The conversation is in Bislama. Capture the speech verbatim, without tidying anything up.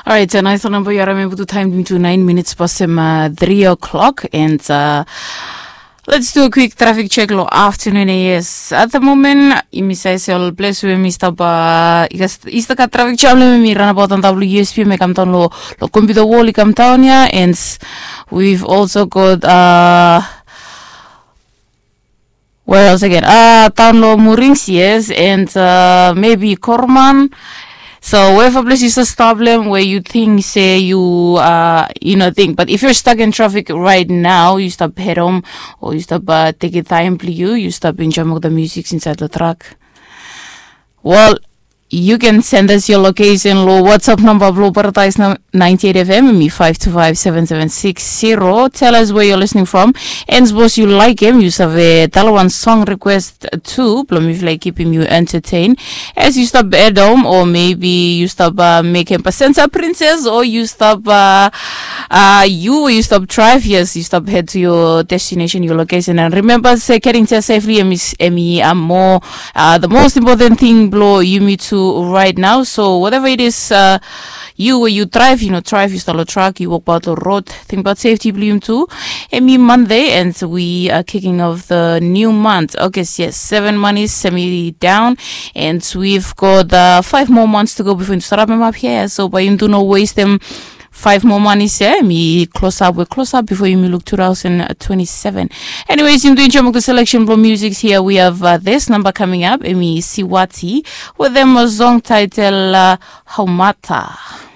Orait, nais namba yu harim em putu taim tu nain minits pasem tri o'clock, and let's do a quick traffic check lo afternoon. Yes, at the moment yumi save se ol ples we mi stap i stap gat traffic jam lo em i ranabaut antap lo usp me kam daun lo lo computer wall i kam daun ya, and we've also got uh, where else again? Uh, daun lo Murings, yes, and uh, maybe Korman. So wherever place you stop them where you think say you uh you know think. But if you're stuck in traffic right now, you stop head home or you stop uh, take your time, please you you stop enjoy the music inside the truck. Well, you can send us your location lo WhatsApp number blo Paradise ninety-eight F M, me five two five seven seven six zero. Tell us where you're listening from. And suppose you like him, you save tell one song request too. Blo me feel like keeping you entertained as you stop at home, or maybe you stop uh, make him Pasensa Princess, or you stop uh, uh, you you stop drive. Yes, you stop head to your destination, your location. And remember, say getting there safely, emi emi are more uh, the most important thing blo yumi tu right now. So whatever it is, uh, you where you drive, you know, drive, you start a truck, you walk about the road, think about safety blo yumi tu. Emi Monday, and we are kicking off the new month. Okay, yes, seven months semi down, and we've got uh, five more months to go before you start up him up here. So by him do no waste them five more months here. Me close up, we close up before you me look two thousand twenty-seven. Anyways, you doing Chomok the selection blo music here. We have uh, this number coming up. Emi Siwati with them a song title uh, Haumata.